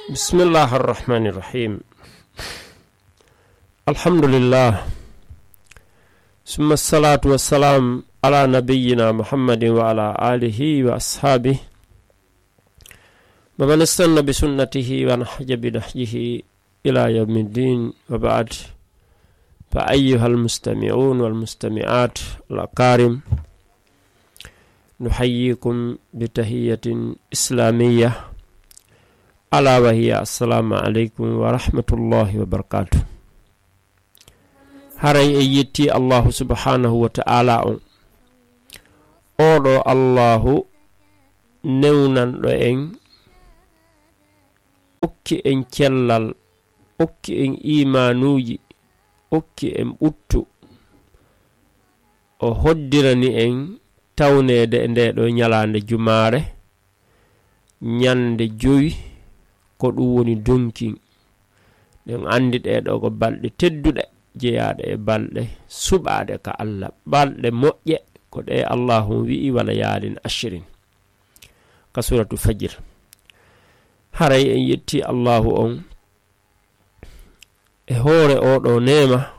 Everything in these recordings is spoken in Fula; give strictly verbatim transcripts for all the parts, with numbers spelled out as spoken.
بسم الله الرحمن الرحيم. الحمد لله. ثم الصلاة والسلام على نبينا محمد وعلى آله وأصحابه ومن استن بسنته ونهج بنهجه إلى يوم الدين، وبعد. فأيها المستمعون والمستمعات الأكارم، نحييكم بتحية إسلامية، ألا وهي السلام عليكم ورحمة الله وبركاته. Haray en yetti Allahu subhanahu wa ta'ala on. Oɗo Allahu newnanɗo en, okki en cellal, okki en imanuuji, okki en ɓuttu. O hoddirani en tawneede e nde ɗo ñalaande jumaare, ñande jowi, ko ɗum woni donkin. Ɗen anndi ɗe ɗo ko balɗe tedduɗe, jeyaaɗe e balɗe suɓaaɗe ka Allah, balɗe moƴƴe, ko ɗe Allahu wi'i wala yaalin ashirin. Ka suratu Fajr. Haray en yetti Allahu on e hoore oɗo neema,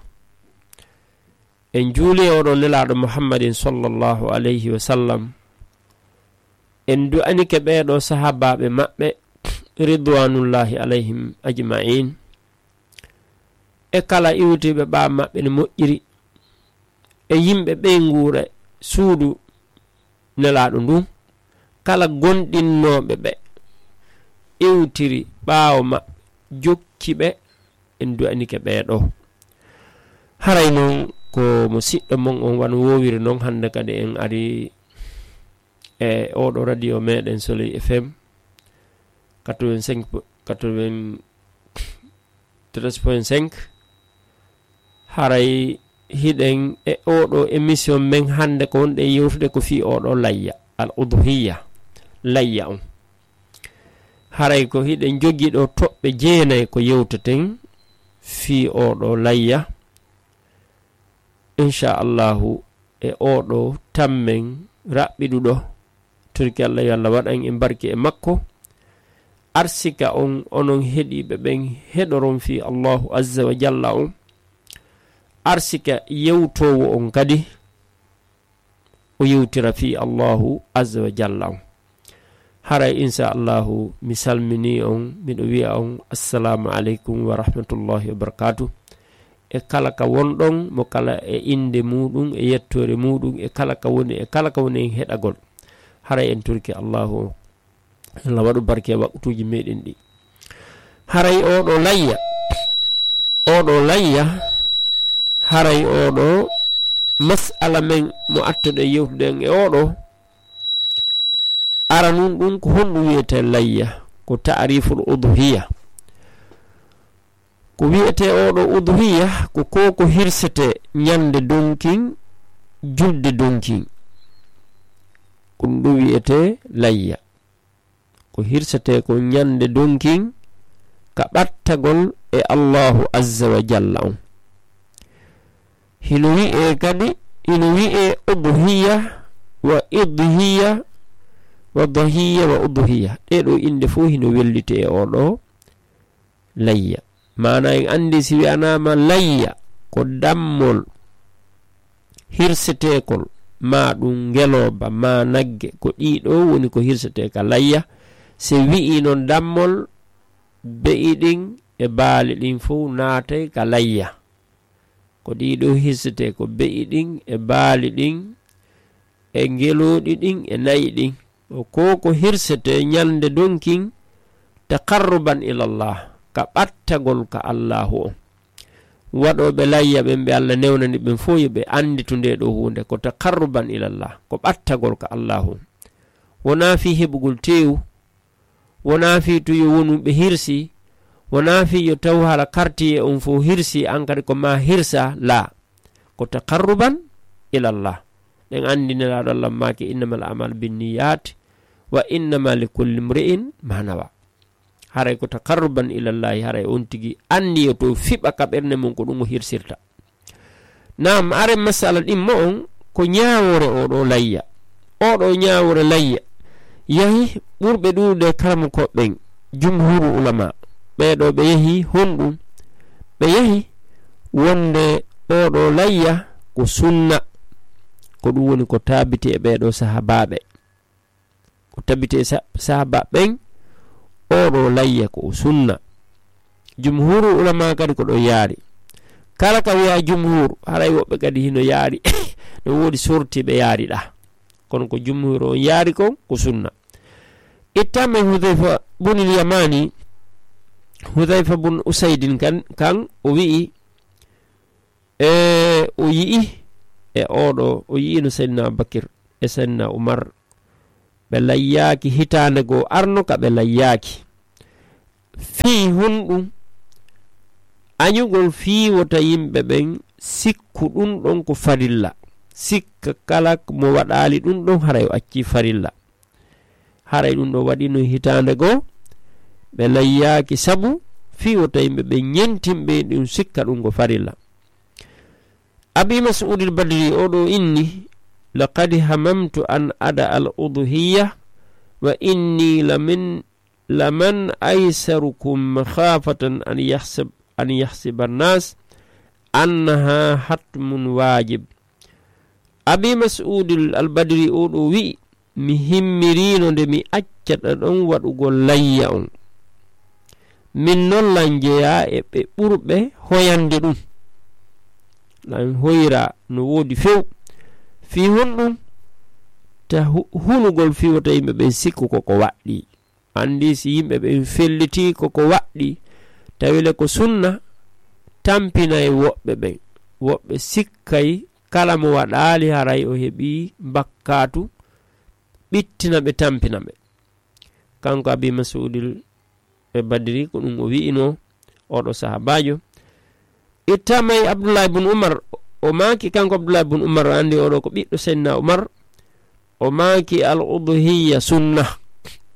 en juuli e oɗo nelaaɗo Muhammadin sallallahu alayhi wa sallam, en du'anike ɓeeɗo sahaabaaɓe maɓɓe, ridwanullahi alayhim ajma'in, e kala iwtiiɓe ɓaawo maɓɓe no moƴƴiri, e yimɓe ɓeynguure suudu nelaaɗo ndun, kala gonɗinnooɓe ɓe iwtiri ɓaawo maɓɓe, jokki ɓe, en du'anike ɓeeɗo. Haray non ko mo siɗɗo mon on wano wowiri non, hannde kadi en ari e oɗo radio meɗen Soleil F M quatre-vingt-cinq, quatre-vingt-treize point cinq. Haray hiɗen e oɗo émission men hannde ko wonɗen yewtude ko fii oɗo layya, al udhiya, layya on. Haray ko hiɗen jogi ɗo toɓɓe jeenay ko yewteten fii oɗo layya. Insha Allahu, e oɗo tammen raɓɓiɗuɗo, turki Allah yo Allah waɗan en barki e makko. Arsika on, onon heɗiiɓe ɓen, heɗoron fii Allahu azza wa jalla on. Arsika yewtoowo on kadi, o yewtira fii Allahu azza wa jalla on. Haray, insha Allahu, mi salmini on, miɗo wi'a on, assalamu aleykum wa rahmatullahi wa barakatuh. E kala ka wonɗon, mo kala e innde muɗum, e yettoore muɗum, e kala ka woni, e kala ka woni e heɗagol. Haray en turki Allahu on. Allah waɗu barke e waqtuuji meɗen ɗi. Haray oɗo layya, oɗo layya, haray oɗo mas'ala men mo attuɗen yewtude en e oɗo, aranun ɗum ko honɗum wiyetee layya, ko ta'riful udhiya. Ko wiyetee oɗo udhiya, ko ko, ko hirsetee ñande donkin, julde donkin. Ko ɗum ɗum wiyetee layya. Ko hirsetee ko ñande donkin ka ɓattagol e Allahu azza wa jalla on. Hino wi'ee kadi, hino wi'ee udhiya wa idhiya wa dahiya wa udhiya. Ɗee ɗoo innde fof hino welliti e oɗo layya. Maana en anndi si wi'anaama layya ko dammol hirseteekol, maa ɗum ngelooba, maa nagge, ko ɗii ɗoo woni ko hirsetee ka layya. Se wi'i noon dammol, be'i ɗin e baali ɗin fof naatay ka layya. Ko ɗii ɗoo hirsetee ko be'i ɗin e baali ɗin e ngelooɗi ɗin e na'i ɗin. O ko ko hirsetee ñande donkin taqarruban ilallah, ka ɓattagol ka Allahu on. Waɗooɓe layya ɓen ɓe Allah newnani ɓen fof yo ɓe annditu ndee ɗoo huunde ko taqarruban ilallah, ko ɓattagol ka Allahu on. Wonaa fii heɓugol teewu, wonaa fii tun yo wonu ɓe hirsi, wonaa fii yo taw hala kartiye on fof hirsi, an kadi ko maa hirsa, laa. Ko taqarruban ilallah. Ɗen anndi Nelaaɗo Allah maaki, innamal a'malu binniyat, wa innama likulli imri'in ma nawa. Haray ko taqarruban ilallahi, haray on tigi anniyoto fiɓa ka ɓernde mum ko ɗum o hirsirta. Naam, are masala ɗimmo on ko ñaawoore oɗo layya. Oɗo ñaawoore layya yahi ɓurɓe ɗuuɗude karamokooɓe ɓen, jumhuru ulama. ɓee ɗoo ɓe yahi honɗum? Ɓe yahi wonde oo ɗoo layya ko sunna. Ko ɗum woni ko taabiti e ɓee ɗoo sahaabaaɓe. Ko taabiti e sa-, sahaabaaɓe ɓen, oo ɗoo layya ko o sunna. Jumhuuru ulama kadi ko ɗo yaari. Kala ka wiya jumhuur, haray woɓɓe kadi hino yaari. No woodi sorti ɓe yaari ɗa. Kono ko jumhuuru on yaari kon, ko sunna. Ittama e Hudhayfa bunil Yamani, Hudhayfa bun Usaydin kan, kan o wi'i, e o yi'i, e oo ɗoo, o yi'ino Sayyidina Abubakir e Sayyidina Umar. Ɓe layyaaki hitaande goo arno ka ɓe layyaaki. Fii honɗum? Añugol fii wota yimɓe ɓen sikku ɗum ɗon ko farilla. Sikka kala mo waɗaali ɗum ɗon haray o accii farilla. Haray ɗum ɗon waɗino hitaande goo, ɓe layyaaki sabu fii wota yimɓe ɓen ñentin ɓe ɗum sikka ɗum ko farilla. Abi Mas'udil Badri oo ɗoo inni, "Laqad hamamtu an ada al udhiyya wa inni lamin, laman aysarukum makhafatan an yahsab, an yahsiba an-nas annaha hatmun wajib." Abi Mas'udil Al Badri oo ɗoo wi'i, "Mi himmiriino nde mi accata ɗon waɗugol layya on. Min non lan jeyaa e ɓe ɓurɓe hoyande ɗum. Lan hoyra no woodi few. Fii honɗum? Ta hu-, hulugol fii wota yimɓe ɓen sikku ko ko waɗɗii." Anndi si yimɓe ɓen fellitii ko ko waɗɗii, tawi le ko sunna, tampinay woɓɓe ɓen. Woɓɓe sikkay kala mo waɗaali haray o heɓii bakkaatu, ɓittina ɓe, tampina ɓe. Kanko Abi Mas'udil e Badri, ko ɗum o wi'ino, oo ɗoo sahaabaajo. Ittama e Abdullahi bun Umar, o maaki, kanko Abdullahi bun Umar, anndi oo ɗoo ko ɓiɗɗo Seydina Umar, o maaki, "Al udhiyya sunna."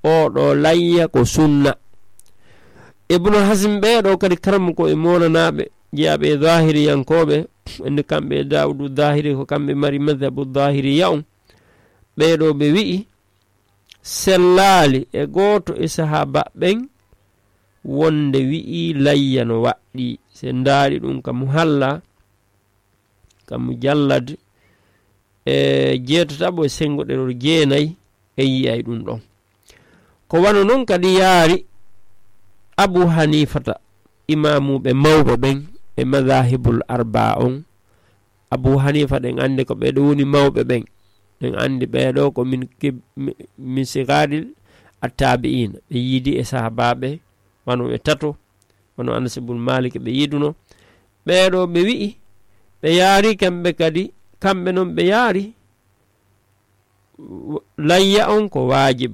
Oo ɗoo layya ko sunna. Ibnu Hazm ɓee ɗoo kadi karamoko e moonanaaɓe, jeyaaɓe e zahiriyankooɓe, andi kamɓe e Daawudu Zahiri, ko kamɓe mari madhabu zahiriya on. Ɓee ɗoo ɓe wi'i, sellaali e gooto e sahaaba ɓen wonde wi'i layya no waɗɗii. Se ndaari ɗum ka Muhalla, ka Mujallad, e jeetataɓo e sengo ɗerol jeenay, e yi'ay ɗum ɗon. Ko wano non kadi yaari Abu Hanifata, imaamuɓe mawɓe ɓen e madahibul arbaa on, Abu Hanifa, ɗen anndi ko ɓee ɗoo woni mawɓe ɓen. Ɗen anndi ɓee ɗoo ko min kib-, mi-, min sigaril attabi'ina. Ɓe yiidi e sahabaaɓe, wano ɓe tato, wano Anas ibn Malik ɓe yiiduno. Ɓee ɗoo ɓe wi'i, ɓe yaari kamɓe kadi, kamɓe non ɓe yaari, w-, layya on ko waajib.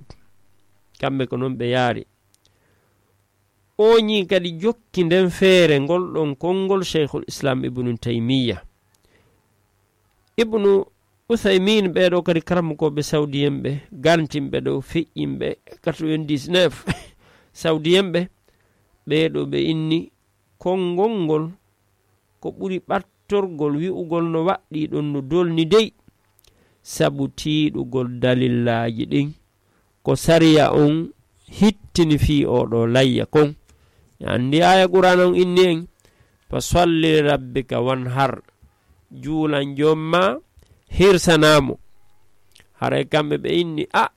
Kamɓe ko non ɓe yaari. Oñi kadi jokki nden feere ngol ɗon konngol Shaykhul Islam Ibnu Taymiyya. Ibnu Uthaymin, ɓee ɗoo kadi karamokooɓe Sawdiyen ɓe, gantimɓe ɗoo, feƴƴinɓe quatre-vingt-dix-neuf Sawdiyen ɓe, ɓee ɗoo ɓe inni konngol ngol ko ɓuri ɓattorgol wi'ugol no waɗɗii ɗon no dolni dey, sabu tiiɗugol dalillaaji ɗin ko sariya on hittini fii oo ɗoo layya kon. En anndi aaya Qur'aana on inni en, "Fa salli li rabbika wanhar." Juulan Joom maa, hirsanaa mo. Haray kamɓe ɓe inni, a,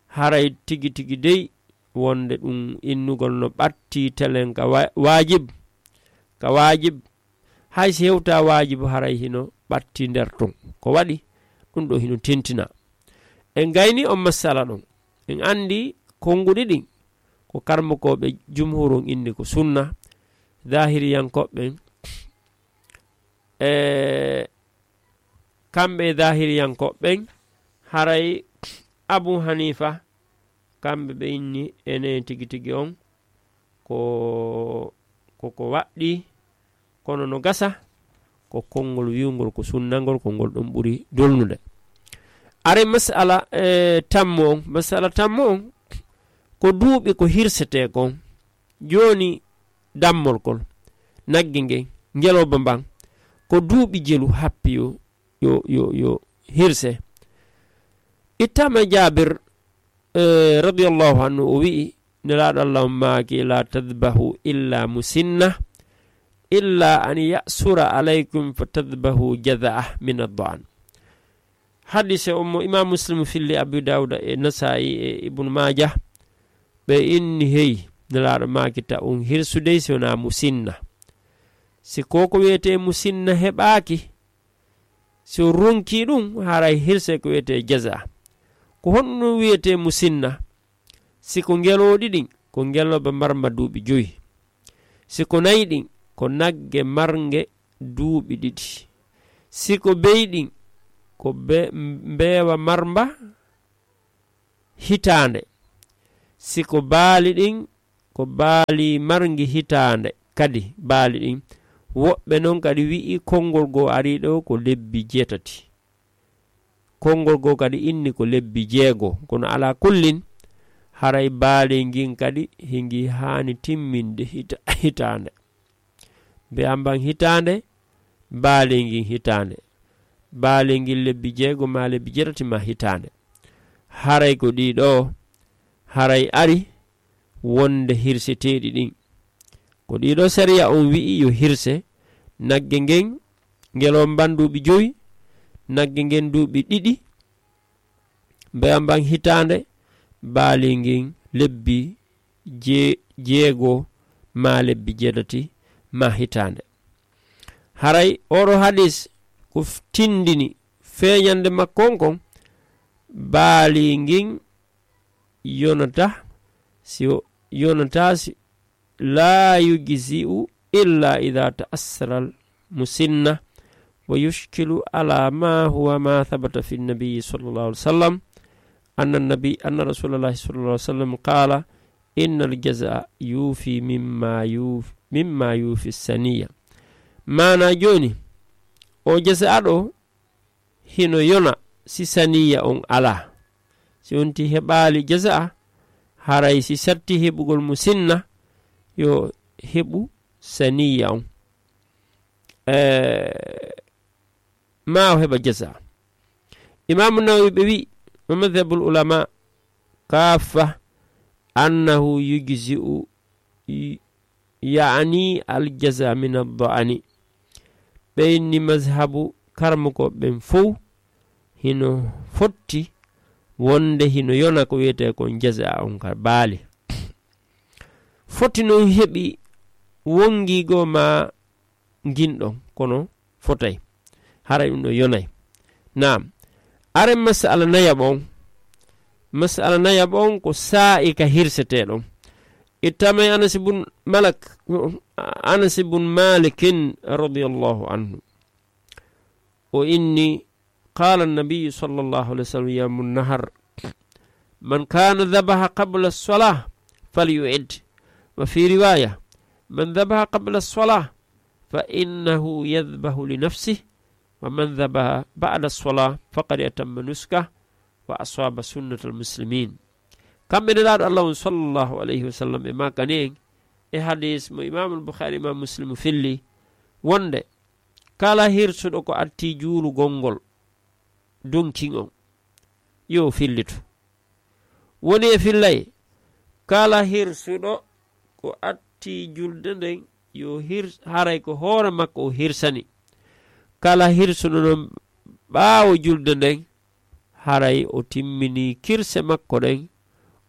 haray tigi tigi dey, wonde ɗum innugol no ɓattii telen ka wa-, waajib, ka waajib. Hay si hewtaa waajibu, haray hino ɓattii nder ton. Ko waɗi? Ɗum ɗoo hino tentina. En gayni on masala ɗon. En anndi konnguɗi ɗin, ko karmokooɓe jumhur on inni ko sunna, zahiriyankooɓe ɓen, e kamɓe e zahiriyankooɓe ɓen, haray Abu Hanifa, kamɓe ɓe inni enen tigi tigi on, ko, ko, ko waɗɗii, kono no gasa, ko konngol wi'ungol ko sunnangol, ko ngol ɗon ɓuri dolnude. Are masala, e, tammo on, masala tammo on, ko duuɓi ko hirsetee kon. Jooni dammol kol, nagge ngen, ngelooba mban, ko duuɓi jelu happi yo, yo, yo, yo hirse. Ittama e Jaabir, eh, radiyallahu anhu, o wi'i, Nelaaɗo Allah on maaki, "La tadbahu illa musinna, illa an ya'sura alaykum fa tadbahu jazaa min ad-da'an." Hadise on mo Imam Muslim filli, Abu Dawuda e Nasa'i e Ibn Majah, ɓe inni, hey, Nelaaɗo maaki ta on hirsu dey si wonaa musinna. Si ko ko wiyetee musinna heɓaaki, si o ronki ɗum, haray hirse ko wiyetee jaza. Ko honno wiyetee musinna? Si ko ngelooɗi ɗin, ko ngelooba marma duuɓi joyi. Si ko nayi ɗin, ko nagge marnge duuɓi ɗiɗi. Si ko bey ɗin, ko be-, mbeewa marmba hitaande. Si ko baali ɗin, ko baali marngi hitaande kadi, baali ɗin. Woɓɓe non kadi wi'i konngol goo arii ɗoo ko lebbi jeetati. Konngol goo kadi inni ko lebbi jeego. Kono alaa kullin, haray baali ngin kadi hingi haani timminde hita-, hitaande. Mbe amban hitaande, baali ngin hitaande. Baali ngin lebbi jeego maa lebbi jeetati maa hitaande. Haray ko ɗii ɗoo, haray ari wonde hirseteeɗi ɗin. Ko ɗii ɗoo sariya on wi'i yo hirse, nagge ngen, ngelomban duuɓi jowi, nagge ngen duuɓi ɗiɗi, mbeya mban hitaande, baali ngin lebbi je-, jeego maa lebbi jeetati maa hitaande. Haray oɗo hadis ko f-, tindini feeñande makko on kon, baali ngin yonata, si o-, yonata si, "لا يجزئ إلا إذا تأثر المسنة، ويشكل على ما هو ما ثبت في النبي صلى الله عليه وسلم، أن النبي، أن رسول الله صلى الله عليه وسلم قال: إن الجزع يوفي مما يوف-، مما يوفي السنية." Maana jooni, o jaza ɗo, hino yona si saniya on alaa. Si on ti heɓaali jaza'a, haray si satti heɓugol mo sinna, yo heɓu saniya on. Eh, maa o heɓa jaza'a. Imaamu Nawawi ɓe wi, "ومذهب العلماء كافة أنه يجزئ، يعني الجزع من الضأن." Ɓe inni mazhabu karmukooɓe ɓen fow hino fotti wonde hino yona ko wiyetee kon jaza on ka baali. Foti non heɓi wongi goo maa ngin ɗon, kono fotay. Haray ɗum ɗon yonay. Naam. Aren masala nayaɓo on. Masala nayaɓo on ko saa'i ka hirsetee ɗon. Ittamay Anas ibn Malak, Anas ibn Malikin radiyallahu anhu. O inni, قال النبي صلى الله عليه وسلم يوم النحر: من كان ذبح قبل الصلاة فليعد. وفي رواية: من ذبح قبل الصلاة فإنه يذبح لنفسه، ومن ذبح بعد الصلاة فقد أتم نسكه وأصاب سنة المسلمين. Kamɓe Nelaaɗo Allah on sallallahu alayhi wa sallam ɓe maakani en e hadis mo Imaamul Bukhaari, Imaam Muslim filli wonde kala hirsuɗo ko atti juulugol ngol donkin on, yo fillito. Woni e fillay, kala hirsuɗo ko atti julde nden, yo hir-, haray ko hoore makko o hirsani. Kala hirsuɗo non ɓaawo julde nden, haray o timmini kirse makko ɗen,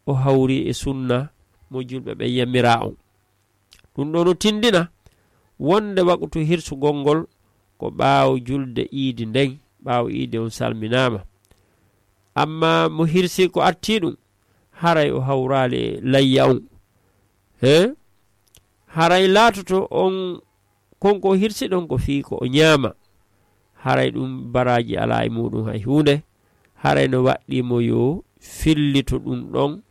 o hawri e sunna mo julɓe ɓen yamiraa on. Ɗum ɗoo no tindina wonde waqtu hirsugol ngol ko ɓaawo julde iidi nden, ɓaawo iidi on salminaama. Amma mo hirsi ko atti ɗum, haray o hawraali e layya on. He? Haray laatoto on kon ko o hirsi ɗon ko fii ko o ñaama. Haray ɗum baraaji alaa e muuɗum hay huunde. Haray no waɗɗii mo yo fillito ɗum ɗon.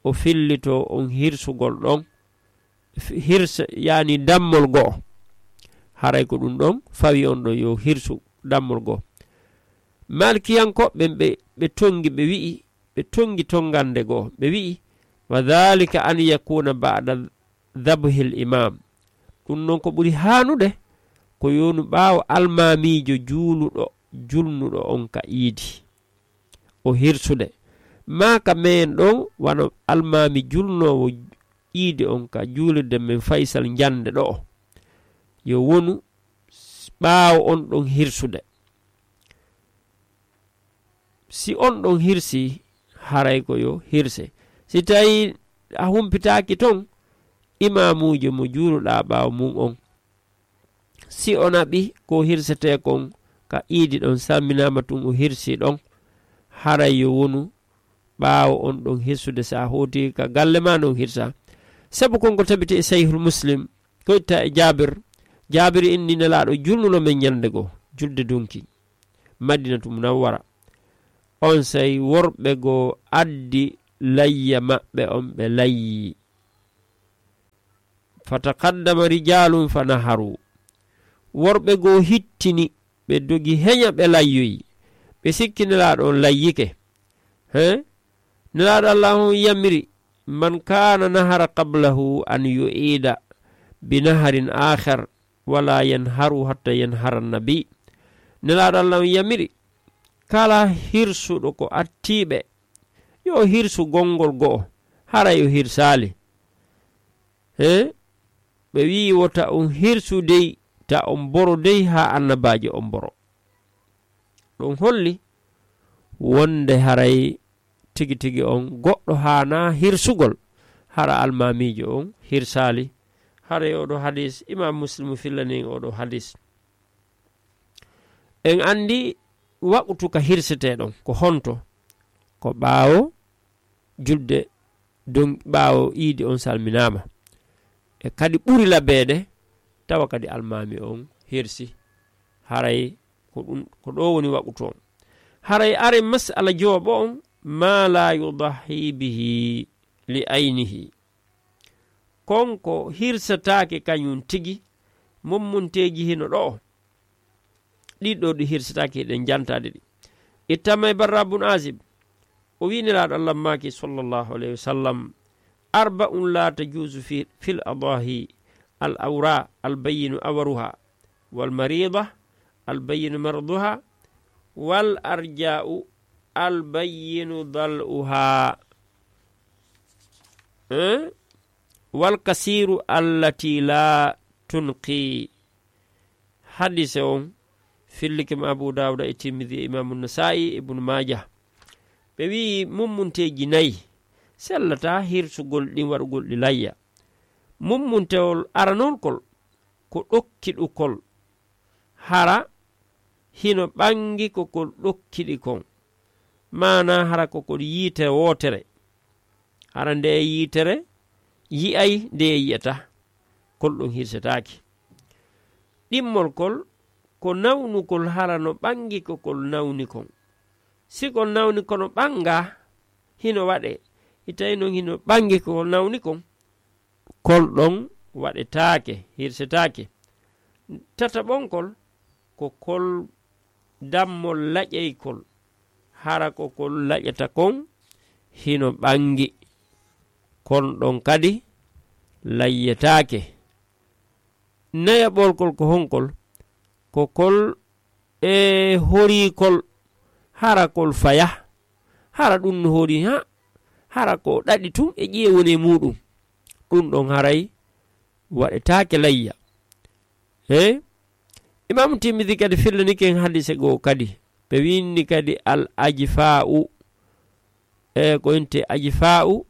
O fillito on hirsugol ɗon. F-, hirsa, yaani dammol go'o. Haray ko ɗum ɗon fawi on ɗon yo hirsu dammol go'o. Malkiyankooɓe ɓen ɓe, ɓe tongi, ɓe wi'i, ɓe tongi tongande go'o. Ɓe wi'i, "وذلك أن يكون بعد ذبح الإمام." Ɗum non ko ɓuri haanude, ko yonu ɓaawo almaamiijo juuluɗo, julnuɗo on ka iidi. O hirsude. Maa ka meen ɗon, wano almaami julnoowo iidi on ka juulirde men Faysal njannde ɗo'o, yo wonu s-, ɓaawo on ɗon hirsude. Si on ɗon hirsi, haray ko yo hirse. Si tawi a humpitaaki ton, imaamuujo mo juuluɗaa ɓaawo mum on, si o naɓi ko hirsetee kon ka iidi ɗon, salminaama tun o hirsi ɗon, haray yo wonu ɓaawo on ɗon hirsude, si a hooti ka galle maa non hirsa. Sabu kon ko tabiti e Sahihul Muslim, ko itta e Jaabir. Jaabir inni Nelaaɗo julnuno men ɲande goo, julde dunki, Madinatu Munawwara. Onsay worɓe goo addi layya maɓɓe on, ɓe layyi. Fataqaddama rijaalun fanaharu. Worɓe goo hittini, ɓe dogi heɲa, ɓe layyoyi. Ɓe sikki Nelaaɗo on layyike. He? Nelaaɗo Allah on yamiri, "Man kaana nahara qablahu an yu'ida bi naharin akhar, wala yanharu hatta yanhara nabi." Nelaaɗo Allah on yamiri, kala hirsuɗo ko attiiɓe, yo hirsu gonngol go'o, hara yo hirsaali. He? Ɓe wi'i, "Wota on hirsu dey, ta on mboro dey haa annabaajo on mboro." Ɗum holli wonde haray tigi tigi on goɗɗo haanaa hirsugol, hara almaamiijo on hirsaali. Haray oɗo hadis, Imam Muslim fillani en oɗo hadis. En anndi waqtu ka hirsetee ɗon, ko honto? Ko ɓaawo julde don ɓaawo iidi on salminaama. E kadi ɓuri labeede, tawa kadi almaami on hirsi. Haray ko ɗum, ko ɗo woni waqutu on. Haray are mas'ala jooɓo on, ma la yudahi bihi li aynihi. Kon ko hirsataake kañum tigi, mummunteeji hino ɗo. Ɗiɗo ɗi hirsataake, hiɗen jantaade ɗi. Ittama e Barra bun Azib, o wi'i Nelaaɗo Allah maaki, sallallahu alayhi wa sallam, "Arba'un la tajuzu fi, fil adahi: al awra, al bayyinu awaruha, wal marida, al bayyinu maraduha, wal arja'u, al bayyinu dal'uha, eh? Wal kasiru allati la tunqi." Hadise on fillike mo Abu Dawuda e Tirmidhi e Imamu Nasa'i e Ibnu Maaja. Ɓe wi'i mummunteeji nayi sellataa hirsugol ɗin, waɗugol ɗi layya. Mummuntewol aranol kol ko ɗokkiɗukol, hara hino ɓangi ko kol ɗokkiɗi kon, maanaa hara ko kol yiitere wootere. Hara ndeye yiitere yi'ay, ndeye yi'ata, kol ɗon hirsetaaki. Ɗimmol kol ko nawnukol, hara no ɓangi ko kol nawni kon. Si kol nawni kono ɓanga, hino waɗe. Itay non hino ɓangi ko kol nawni kon, kol ɗon waɗetaake, hirsetaake. Tataɓonkol ko kol dammol laƴaykol, hara ko kol laƴata kon hino ɓangi, kon ɗon kadi layyetaake. Nayaɓolkol ko honkol? Ko kol e horiikol, hara kol faya, hara ɗum no hori, ha, hara ko ɗaɗi tun e ƴiye woni e muɗum, ɗum ɗon haray waɗetaake layya. He? Imam Tirmidhi kadi fillanike en hadise goo kadi. Ɓe winndi kadi al ajfa'u. E ko inte ajfa'u,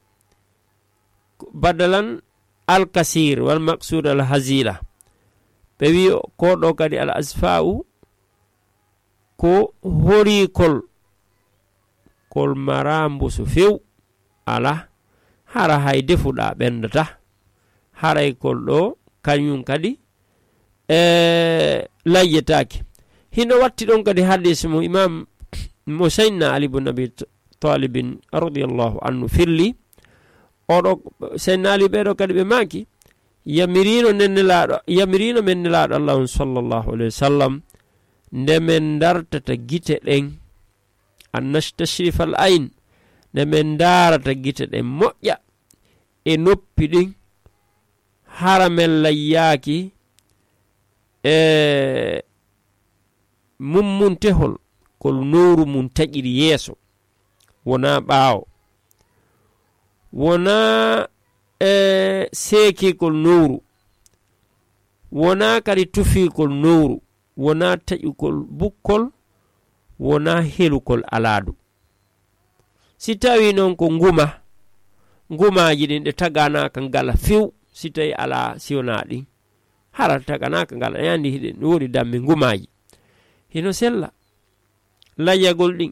badalan al kasir, wal maqsud al hazila. Ɓe wi ko ɗo kadi al ajfa'u, ko horiikol, kol mara mbusu few, ala, hara hay defuɗa ɓendata, haray kol ɗo kañum kadi e layyetaake. Hino watti ɗon kadi hadis mo imam, mo Sayyidina Ali ibn Abi Talibin radiyallahu anhu filli. Oɗo Sayyidina Ali, ɓeɗo kadi ɓe maaki, yamirino nen Nelaaɗo, yamirino men Nelaaɗo Allah on sallallahu alayhi wa sallam, nde men dartata gite ɗen, an nastashrifa al ayn, nde men darata gite ɗen moƴƴa e noppi ɗin, hara men layyaaki e mummuntehol, kol nowru mun taƴiri yeeso. wonaa ɓaawo, wonaa e seekiikol nowru, wonaa kadi tufiikol nowru, wonaa taƴukol bukkol, wonaa helukol alaadu. Si tawii noon ko nguma, ngumaaji ɗin ɗe taganaaka ngala few, si tawii alaa si wonaa ɗin, hara taganaaka ngala, e anndi hiɗen woodi dammi ngumaaji. Hino sella layyagol ɗin.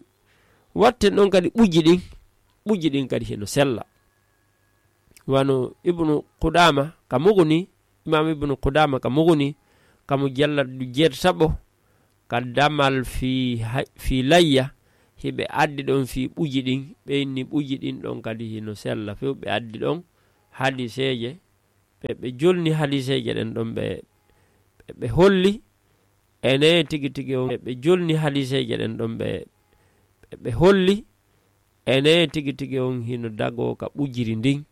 Watten ɗon kadi ɓujji ɗin, ɓujji ɗin kadi hino sella. Wano Ibnu Qudaama ka Muguni, Imaam Ibnu Qudaama ka Muguni, ka mujalladu jeetataɓo, ka damal fii ha-, fii layya, hiɓe addi ɗon fii ɓujji ɗin, ɓe inni ɓujji ɗin ɗon kadi hino sella few, ɓe addi ɗon hadiseeje, ɓe, ɓe jolni hadiseeje ɗen ɗon, ɓe, ɓe, ɓe holli, ene tigi tigi on, ɓe jolni hadiseeje ɗen ɗon, ɓe, ɓe, ɓe holli, ene tigi tigi on hino dagoo ka ɓujiri ndin,